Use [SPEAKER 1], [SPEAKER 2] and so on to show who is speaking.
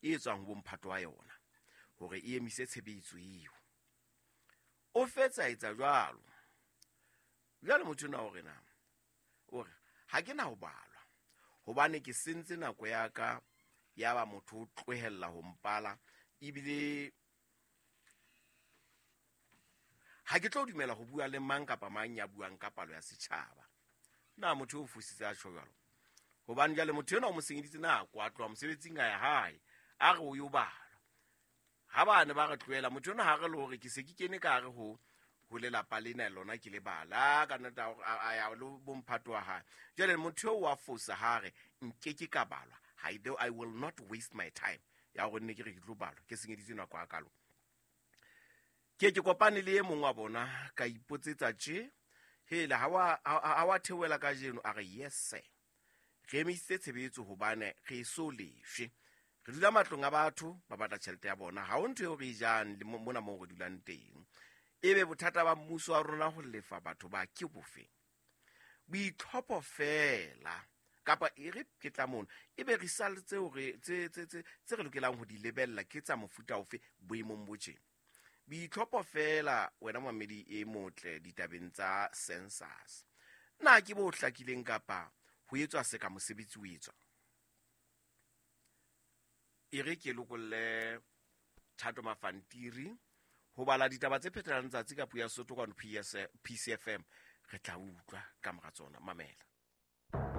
[SPEAKER 1] e tswang ho bomphato wa yona hore e emise tshebetso eo. O fetsa etsa jwalo. Jwale motho ona o re na, o re ha ke na ho balwa hobane ke sentse nako ya ka, ya ba motho o tlohella ho mpala, ebile ha ke tlo dumela ho bua le mang kapa mang ya buang ka palo ya setjhaba. Na motho o fositse a tjho jwalo? Hobane jwale motho enwa o mo senyeditse nako, a tloha mosebetsing a ya hae, a re o yo balwa. Ha ba ne ba re tlohela, motho enwa ha re le hore ke se ke kene ka hare ho lelapa lena lona ke le bala, ka nnete a ya le bomphato wa hae. Jwale motho eo wa fosa ha re nkeke ka balwa, I will not waste my time ya hore nne ke re ke tlo balwa, ke senyeditse nako ya kalo. Ke ke kopane le e mong wa bona, ka ipotsetsa tje, hele, ha wa theohela kajeno? A re yes sir, re emisitse tshebetso hobane re eso lefshe. Re dula matlong a batho, ba batla tjhelete ya bona, ha ho ntho eo re e jang le mona moo re dulang teng. Ebe bothata ba mmuso wa rona ho lefa batho ba ke bofe? Boitlhopho feela, kapa e re ke tla mono, ebe result tseo re, tse, tse, tse, tse re lokelang ho di lebella ke tsa mofuta ofe boemong bo tjena? Boitlhopho feela, wena mamedi e motle ditabeng tsa census. Na ke bo hlakileng kapa ho etswa se ka mosebetsi o etswa? E re ke lokolle Thato Mafantiri ho bala ditaba tse phethelang tsatsi ka puo ya Sesotho kwano PCFM. Re tla utlwa ka mora tsona. Mamela.